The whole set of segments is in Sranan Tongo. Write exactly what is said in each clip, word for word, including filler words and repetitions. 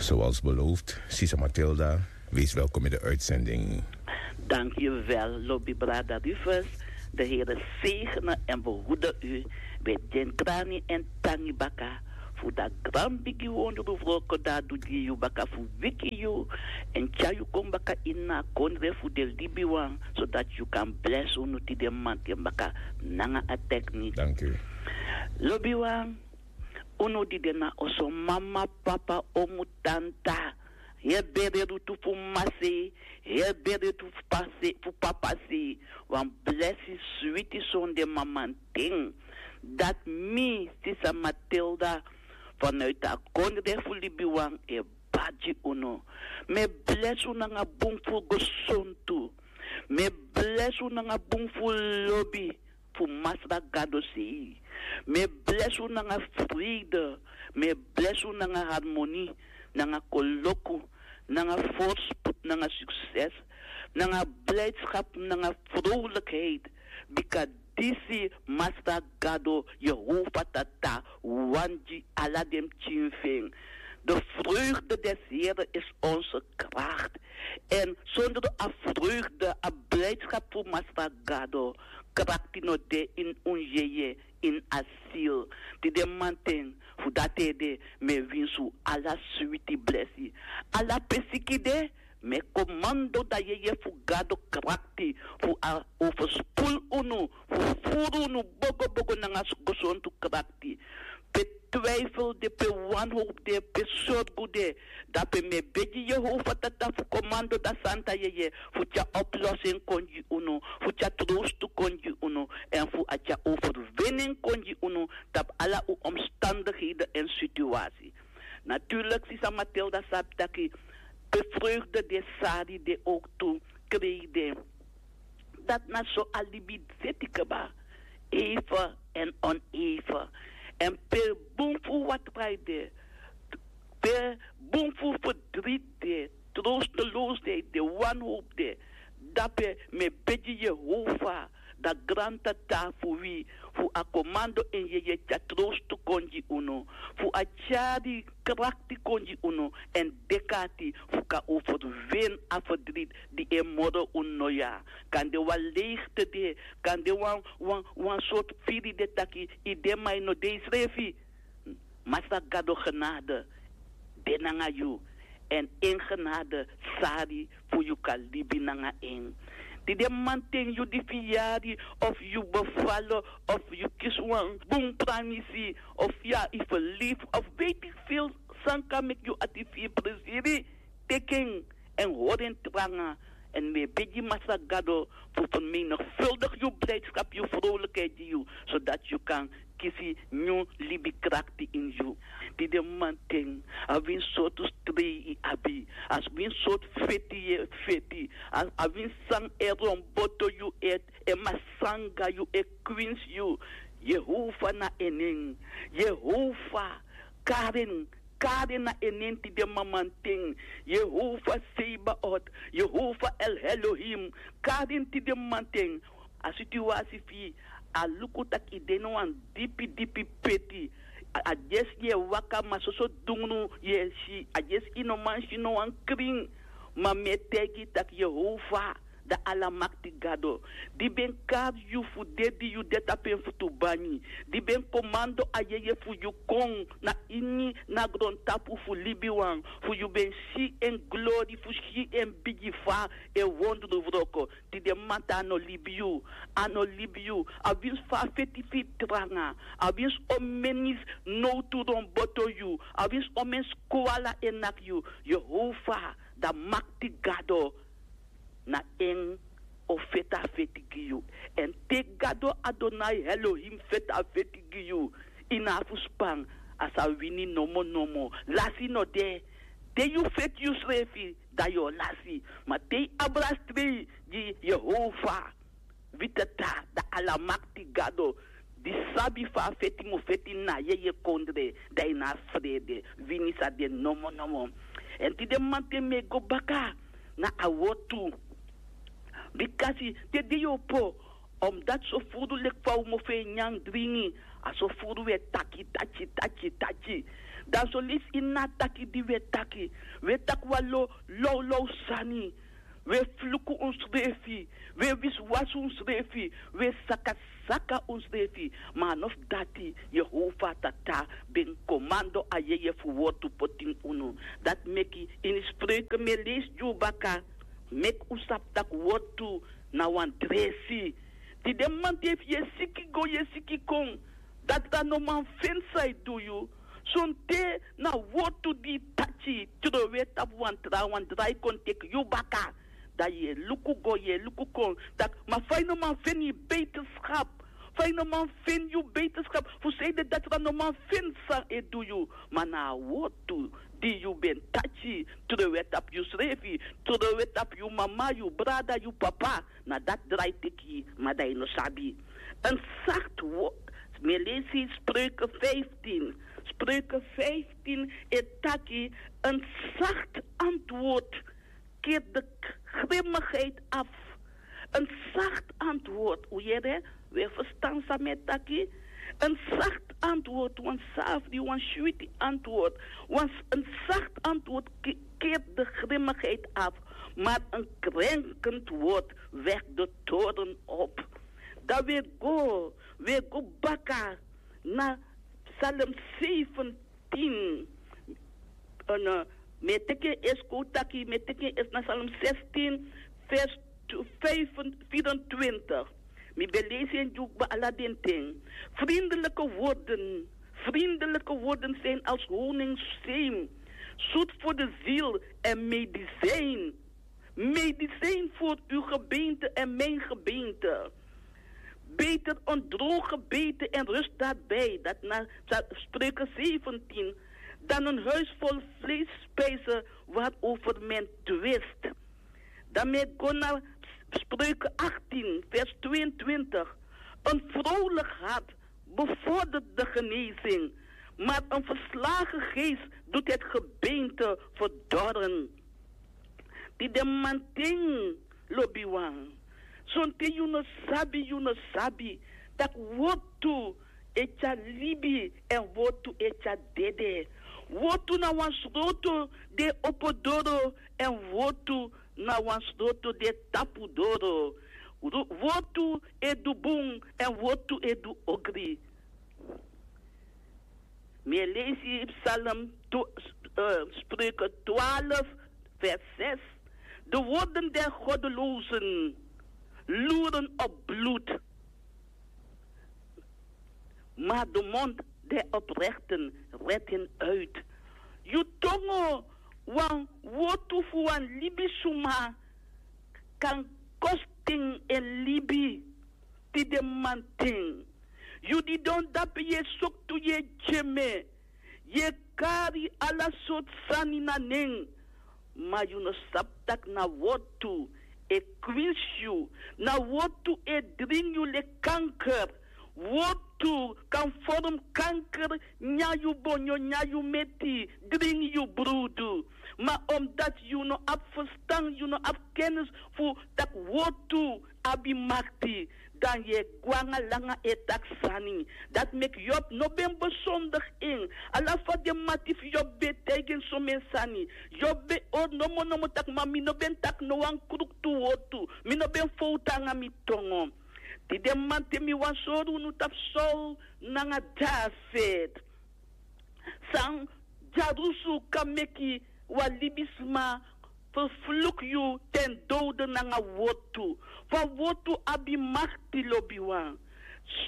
Zoals beloofd, Sisa Matilda, wees welkom in de uitzending. Dank u wel, Lobby Brada Rufus. De Heer zegene en behoede u. Bij den krani en tangi baka. Fu da gran bigi wondru wroko da du gi yu baka fu wiki yu. En tyari yu kon baka ini a kondre fu den libiwan, zodat yu kan blesi unu tide mamanten baka nanga a teknik. Dank u. Lobiwan, unu di de na oso, mama, papa, omu, tanta, heri bere rutu fu mama sei, heri bere rutu fu papa sei, fu papa sei, wan blesi switi sonde mamanten. Dati mi, Sisa Matilda, vanuit a kondre fu libiwan e bari gi unu. Mi e blesi unu nanga bun fu gesontu. Mi e blesi unu nanga bun fu lobi fu Masra Gado sei. Mi e blesi unu nanga vrede. Mi e blesi unu nanga harmoni, nanga koloku, nanga voorspoed, nanga succes, nanga blijdschap, nanga vrolijkheid. Bika disi Masra Gado, Yehova Tata, wani gi ala den pikin fu en. De vreugde des Here is onze kracht. En zonder a vreugde, a blijdschap fu Masra Gado, krakti no de ini un yeye, ini a ziel. Tide mamanten, fu dati ede, mi e winsi un ala switi blesi. Ala pe siki de, mi e komando da yeye fu Gado krakti fu a overspoel unu, fu furu unu bogobogo nanga gesontu krakti. Pe twijfel de, pe wanhoop de, pe sorgu de, dape mi e begi Yehova Tata fu komando da santa yeye fu tyari oplossing kon gi unu, fu tyari troost kon gi unu, en fu a tyari overwinning kon gi unu tapu ala un omstandigheden en situatie. Natuurlijk, Sisa Matilda sabi taki pe vreugde de, sari de, ook tu krei de. Dati na so a libi seti kaba, even en oneven. En pe bun fu watra de, pe bun fu verdriet de, troosteloosheid de, wanhoop de, dape mi e begi Yehova, da Granti Tata fu wi, fu a komando en yeye tyari troostu kon gi unu, fu a tyari krakti kon gi unu, en deki ati fu kan overwin a verdriet di e moro unu noya. Kande wan leegte de, kande wan, wan, wan sortu firi de taki i de ma i no de i srefi. Masra Gado genade de nanga yu, en en genade sari fu yu kan libi nanga en. Tide mamanten yu di firi yari, of yu befalo, of yu kisi wan bun pranisi, of ya i verlief, of weet ik veel san kan meki yu ati firi presiri. Teki en, en hori en tranga. En mi e begi Masra Gado fu vermenigvuldig yu blijdschap, yu vrolijkheid gi yu, zodat yu kan kisi nyun libi krakti ini yu. Tide mamanten, a wini sortu strei i abi, a wini sortu feti yu e feti, a wini san e romboto yu, e masanga yu, e kwinsi yu, Yehova na en nen. Yehova, kari en, kari en na en nen tide mamanten. Yehova Sebaot, Yehova El Elohim, kari en tide mamanten. A situasi fu yu, a luku taki i de na wan dipi dipi peti. A, a dyesi yu e waka, ma soso dungru yu e si. A dyesi i no man si no wan krin. Ma mi e taigi yu taki Yehova, da Alamakti Gado, di ben kari yu fu de di yu de tapu en futu banyi, di ben komando a yeye fu yu kon na ini na grontapu fu libiwan, fu yu ben si en glori, fu si en bigi fa e wondru wroko. Tide mamanten a no libi yu, a no libi yu. A winsi fa a feti fu yu tranga, a winsi omeni nowtu romboto yu, a winsi omeni skwala e naki yu, Yehova, da Makti Gado, na en o feti a feti gi yu. Èn te Gado Adonai Elohim feti a feti gi yu, i no abi fu span, a sa wini nomo nomo. Lasi no de. Te yu feti yusrefi, dan yu o lasi. Ma te i abra strei gi Yehova, wi Tata, da Alamakti Gado, di sabi fa a feti mu feti na yeye kondre, dan i no abi frede, wini sa de nomo nomo. Èn tide mamanten mi e go baka na a wortu. Bikasi te den yu opo, omdati so furu leki fa un mofo e nyan dringi, a so furu wi e taki taki taki taki. Dan so lesi ini a taki di wi e taki, wi e taki wan lo lawlaw sani. Wi e fluku unsrefi, wi e wisiwasi unsrefi, wi e sakasaka unsrefi. Ma a no fu dati, Yehova Tata ben komando a yeye fu wortu poti ini unu. Dati meki ini Spreuken mi e leisi gi unu baka, meki un sabi tak' wortu na wan dresi. Tide mamanten efu yu e siki go, yu e siki kon, dati dan no man feni san e du yu. Sonten na wortu di yu tachi, trowe tapu wan trawan, drai kon teki yu baka. Dan yu e luku go, yu e luku kon, taki: ma fa yu no man feni yu beterschap? Fa yu no man feni yu beterschap? Fu sanede dati dan no man feni san e du yu. Ma na a wortu di yu ben tachi, trowe tapu yusrefi, trowe tapu yu mama, yu brada, yu papa, na dati drai teki, ma dan yu no sabi. Een zacht woord. Mi e leisi Spreuken vijftien. Spreuken vijftien e taki: een zacht antwoord keert de k-, grimmigheid af. Een zacht antwoord, un yere, wi e ferstan san mi e taki. Een zacht antwoord, wan safri, wan switi antwoord. Wan s-, een zacht antwoord ke-, keert de grimmigheid af, maar een krenkend woord wekt de toorn op. Dan wi e go, wi e go baka na Psalm zeventien. En, eh, mi e teki en eerst, kon taki, mi e teki en eerst na Psalm zestien, vers tw-, vijf, vierentwintig. Mi ben leisi en gi unu ala den ten. Vriendelijke woorden, vriendelijke woorden zijn als honingszeem, zoet voor de ziel en medicijn. Medicijn voor uw gebeente en mijn gebeente. Beter een droog gebeten en rust daarbij. Dat na Psa-, Spreuken zeventien. Dan een huis vol vleesspijzen waarover men twist. Dan mi e go na Spreuken achttien, vers tweeëntwintig. Een vrolijk hart bevordert de genezing, maar een verslagen geest doet het gebeente verdorren. Tide mamanten, lobiwan, sonten yu no sabi, yu no sabi tak' wortu e tyari libi èn wortu e tyari dede. Wortu na wan sroto di e opo doro èn wortu na wan sroto di e tapu doro. Ru-, wortu e du bun èn wortu e du ogri. Mi e leisi Psalm tw-, eh, Spreuken twaalf, vers zes. De woorden der goddelozen loeren op bloed, maar de mond der oprechten redt hen uit. Yu tongo, wan wortu fu wan libisuma kan kosten en libi. Tide mamanten, yu didon dape, yu e soktu, yu e dyeme, yu e kari ala sortu sani na nen, ma yu no sabi tak' na wortu e kwinsi yu, na wortu e dringi yu leki kanker. Wortu kan vorm kanker, nyan yu bonyo, nyan yu meti, dringi yu brudu. Ma omdat yu no abi ferstan, yu no abi kennis fu tak' wortu abi makti, dan yu e go nanga langa e taki sani. Dati meki Yob no ben besondig en. Ala fa den mati fu Yob ben taigi en somen sani, Yob ben hori nomo nomo tak': ma mi no ben taki no wan kruktu wortu, mi no ben fowtu nanga mi tongo. Tide mamanten mi wani sori unu tapu Saul nanga David. San dyarusu kan meki wan libisma ferfluku yu ten dode nanga wortu. Fa wortu abi makti, lobiwan.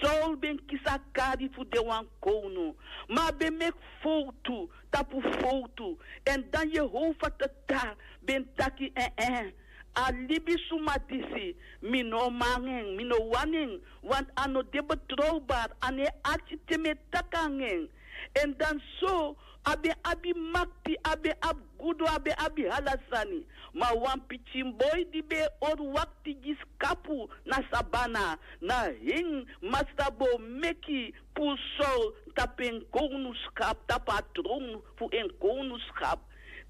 Saul ben kisi a kari fu de wan kownu, ma a ben meki fowtu tapu fowtu. Èn dan Yehova Tata ben taki: eh-eh, a libisuma disi, mi no man nanga en, mi no wani en, want a no de betrowbari, a no e arki te mi e taki nanga en. Èn dan so, a ben abi makti, a ben abi gudu, a ben abi ala sani. Ma wan pikin boi di ben e hori wakti gi skapu na sabana, na en Masra bo meki puru Saul tapu en kownuskap, tapu a tron fu en kownuskap.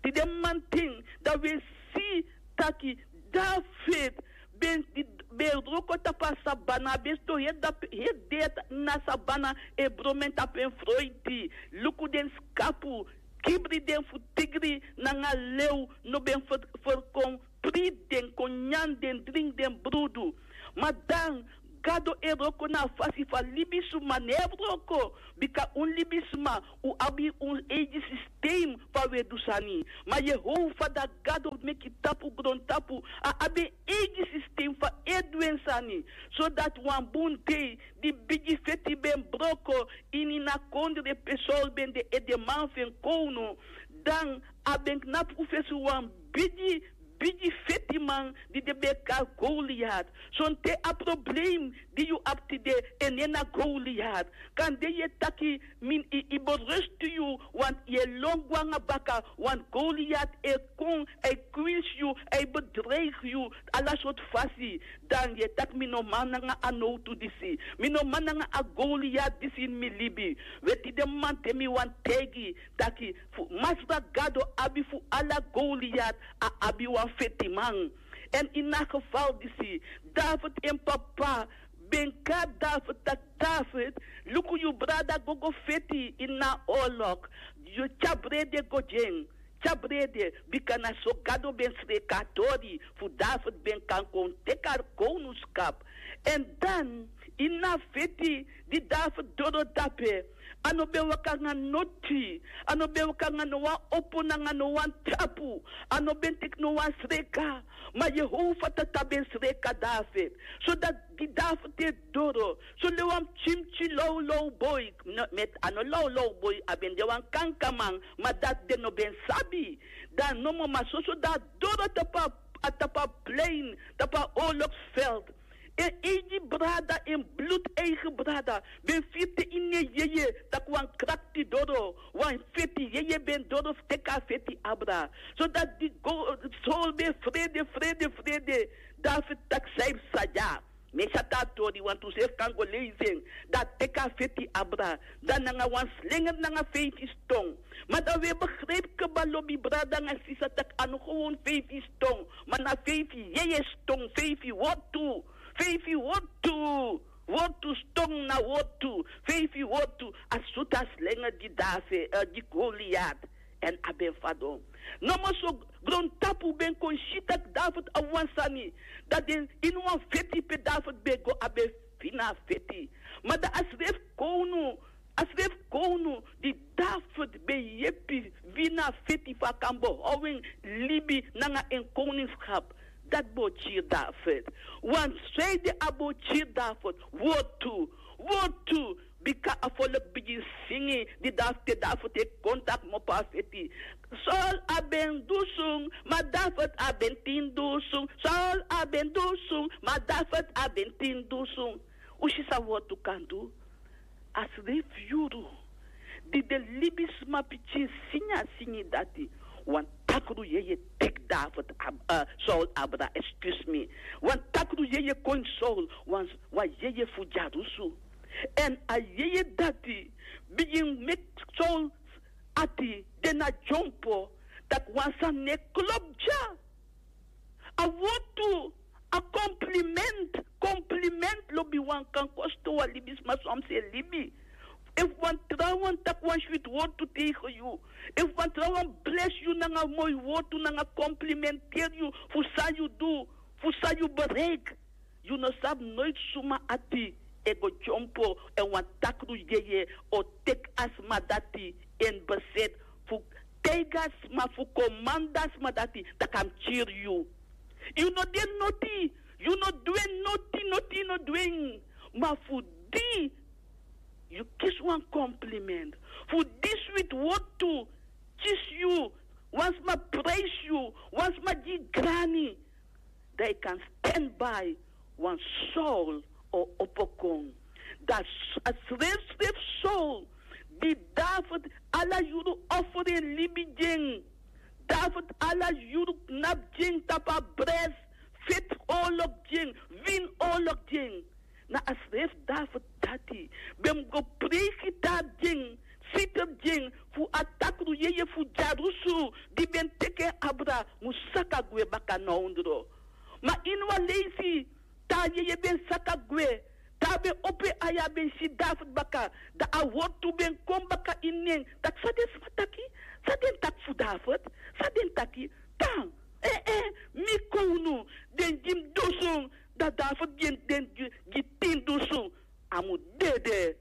Tide mamanten, dan wi e si taki David ben di-, ben wroko tapu a sabana, a ben sidon heri dati heri dei na sabana, e bromen tapu en froiti. Luku den skapu, kibri den fu tigri nanga lew no ben ferkon. Priti den kon nyan den dringi den brudu. Ma dan gado e wroko na a fasi fu a libisma no e wroko. Bika un libisma, un abi un eigi sistem fu a we du sani. Ma yehova dati gado meki tapu grontapu, a abi en eigi sistem fu a e du en sani. Sodati wan bun dei di bigi feti ben broko ini a kondre pe sol ben de edeman fu en kownu, dan a ben knapu fesi wan bigi bigi fetiman di den ben e kari goliat. Sonten a problem di yu abi tide, en nen na goliat. Kande yu e taki, mi e berustu yu, want yu e lon go nanga baka, want goliat e kon, a e kwinsi yu, a e bedreigi yu ala sortu fasi. Dan yu e taki mi no man nanga a nowtu disi, mi no man nanga a goliat disi ini mi libi. We tide mamanten mi wani taigi taki fu masra gado abi fu ala goliat, a abi wan fetiman. Èn ini a gefal disi, david en papa ben kari david taki, david, luku yu brada go go feti ini a olok. Yu tyari brede go gi en, tyari brede. Bika na so gado ben sreki a tori fu david ben kan kon teki a kownuskap. Èn dan ini a feti di david doro dape, a no ben waka nanga noti, a no ben waka nanga no wan opo nanga no wan tapu, a no ben teki no wan sreka. Ma yehova tata ben sreka david. Sodati di david e doro, so le wan pikin pikin lawlaw boi, met a no lawlaw boi, a ben de wan kankaman. Ma dati den no ben sabi. Dan nomo ma soso dan a doro tapu a, tapu a plein, tapu a oloksveld. En eigi brada, en blud eigi brada, ben firi te ini en yeye tak' wan krakti doro, wan feti yeye ben doro fu teki a feti abra. Sodati di go, sol ben frede frede frede. David taki san yu psa dya? Mi e si a tori wantu srefi kan go leisi en. Dan a teki a feti abra, dan nanga wan slenger nanga feifi ston. Ma dan wi e begripi kba lobi brada nanga sisa tak' a no gewon feifi ston, ma na feifi yeye ston, feifi wortu. Feifi wortu. Wortu, ston na wortu. Feifi wortu. A sutu a slenger gi david, gi goliat. Èn a ben fadon. Nomo so grontapu ben kon si tak' david abi wan sani. Dan den ini wan feti pe david ben go a ben fini a feti. Ma dan a srefi kownu, a srefi kownu di david ben yepi wini a feti fu a kan behow en libi nanga en kowningskap. Dati bo kiri david. Wan sreide a bo kiri david. Wortu. Wortu. Bika a folk bigin singi di david te david e kon taki mopo a feti. Saul a ben dusun, ma david a ben tin dusun. Saul a ben dusun, ma david a ben tin dusun. Un si san wortu kan du? A srefi yuru di den libisma pikin singi a singi dati. Wan takru yeye teki david, saul abra, excuse me. Wan takru yeye kon ini saul, wan yeye fu dyarusu. Èn a yeye dati bigin meki saul ati de na dyompo, tak' wan sani no e klopu dya. A wortu, a komplimentu. Komplimentu lobi wan kan kosto wan libisma san mus e libi. Efu wan trawan taki wan switi wortu tegen yu, efu wan trawan blesi yu nanga moi wortu nanga komplimenteri yu fu san yu du, fu san yu bereiki, yu no sabi noiti suma ati e go dyompo èn wan takru yeye o teki a sma dati ini beseti fu taigi a sma, fu komandi a sma dati tak' a mus kiri yu. Yu no de noti, yu no du en noti, noti yu no du en. Ma fu di yu kisi wan komplimentu, fu di switi wortu kisi yu, wan sma prijsi yu, wan sma gi yu grani, dan yu kan sten bai wan saul o opo kon. Dan a srefsrefi saul di david ala yuru oferi en libi gi en. David ala yuru knapu gi en tapu a bresi, feti owlok gi en, wini owlok gi en. Na a srefi david dati ben mus go preiki tari gi en, siter gi en, fu a takru yeye fu dyarusu di ben teki en abra mus saka gwe baka na ondro. Ma ini wan leisi Te a yeye ben saka gwe, te a ben opo en ai, a ben si David baka. Dan a wortu ben kon baka ini en. Taki san den sma taki? San den taki fu David? San den taki? Tan, eh, eh, mi kownu, den gi mi dusun. Dan David gi den gi, gi tin dusun. A mu dede.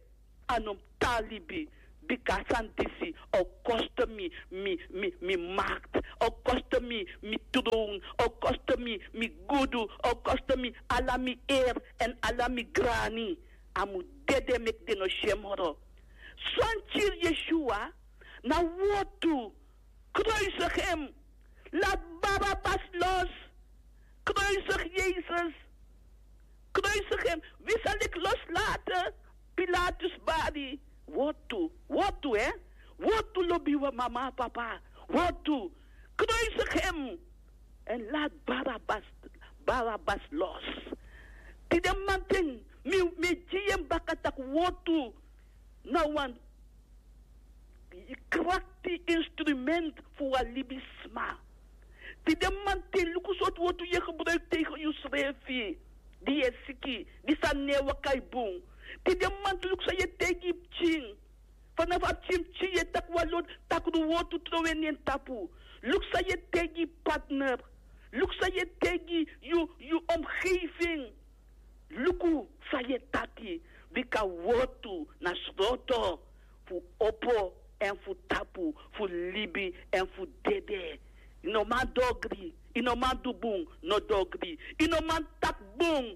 A no mu tan libi. Bika a sani disi o kosto mi, mi, mi, mi makti, o kosto mi, mi trown, o kosto mi, mi gudu, o kosto mi ala mi eri èn ala mi grani. A mu dede meki den no si en moro. San kiri Yeshua na wortu. Kruisig hem. Laat Barabbas los. Kruisig Jezus. Kruisig hem. Wi sa leki loslaten? Pilatus bari. Wortu. Wortu, hè? Wortu, lobi wan mama, papa. Wortu. Kruisig hem. En laat Barabbas, Barabbas los. Tide mamanten, mi, mi e gi yu en baka taki wortu na wan krakti instrument fu wan libisma. Tide mamanten, luku sortu wortu yu e gebruiki tegen yusrefi, di yu e siki, di sani no e waka bun. Tide mamanten, luku san yu e taigi yu pikin. Fanafu a pikin pikin yu e taki wan lo, takru wortu, trowe na en tapu. Luku san yu e taigi yu partner. Luku san yu e taigi yu, yu omgeving. Luku san yu e taki, bika wortu na sroto fu opo èn fu tapu, fu libi èn fu dede. Yu no man du ogri, yu no man du bun, no du ogri. Yu no man taki bun,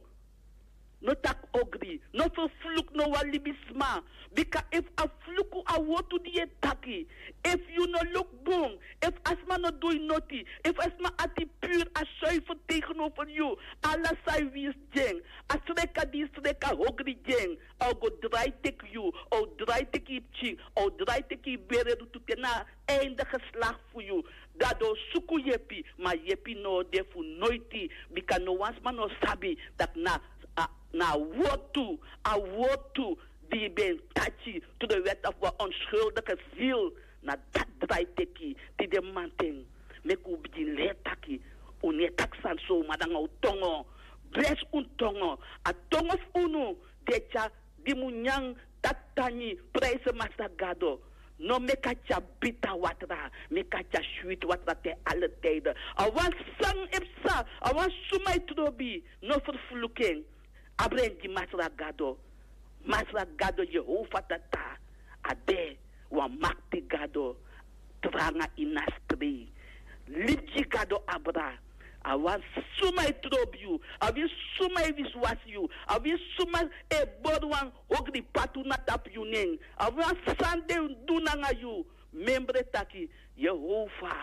no taki ogri. No ferfluku no wan libisma. Bika efu a fluku a wortu di yu e taki, efu yu no luku bun, efu a sma no du yu noti, efu a sma ati puru, a zuiver tegenover yu, ala san yu winsi gi en, a sreka di yu sreka ogri gi en, a o go drai teki yu, a o drai teki yu pikin, a o drai teki yu bere, du tu te na a einde geslakti fu yu. Gado o suku yepi, ma yepi no o de fu noiti, bika no wan sma no sabi taki na, a, na a wortu, a wortu di yu ben taki to de wet of wan onschuldige ziel, na dati drai teki. Tide mamanten, meki un bigin leri taki un no e taki sani so, ma nanga un tongo. Blesi un tongo. A tongo fu unu di e tyari, di mu nyan, taki dangi, prijsi Masra Gado. No meki a tyari bita watra, meki a tyari switi watra te alle tijden. A wan san e psa, a wan suma e trobi, no ferfluku en. Abra en gi Masra Gado. Masra Gado, Yehova Tata, a de wan makti Gado, tranga ini a strei. Libi gi Gado abra. A wan suma e trobi yu, a wi suma e wisiwasi yu, a wi suma e bori wan ogri patu na tapu yu nen, a wan san den du nanga yu. Memre taki, Yehova,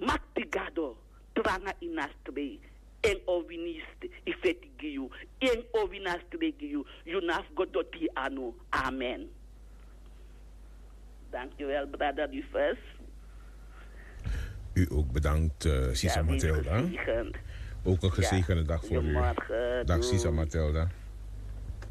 makti Gado, tranga ini a strei. En o wini yu st-, yu feti gi yu. En o wini a strei gi yu. Yu no abi fu go doti yu anu. Amen. Dankjewel, brother Rufus. U ook bedankt, eh, Sisa Matilda. Ook een gezegende dag voor u. Dag, Sisa Matilda.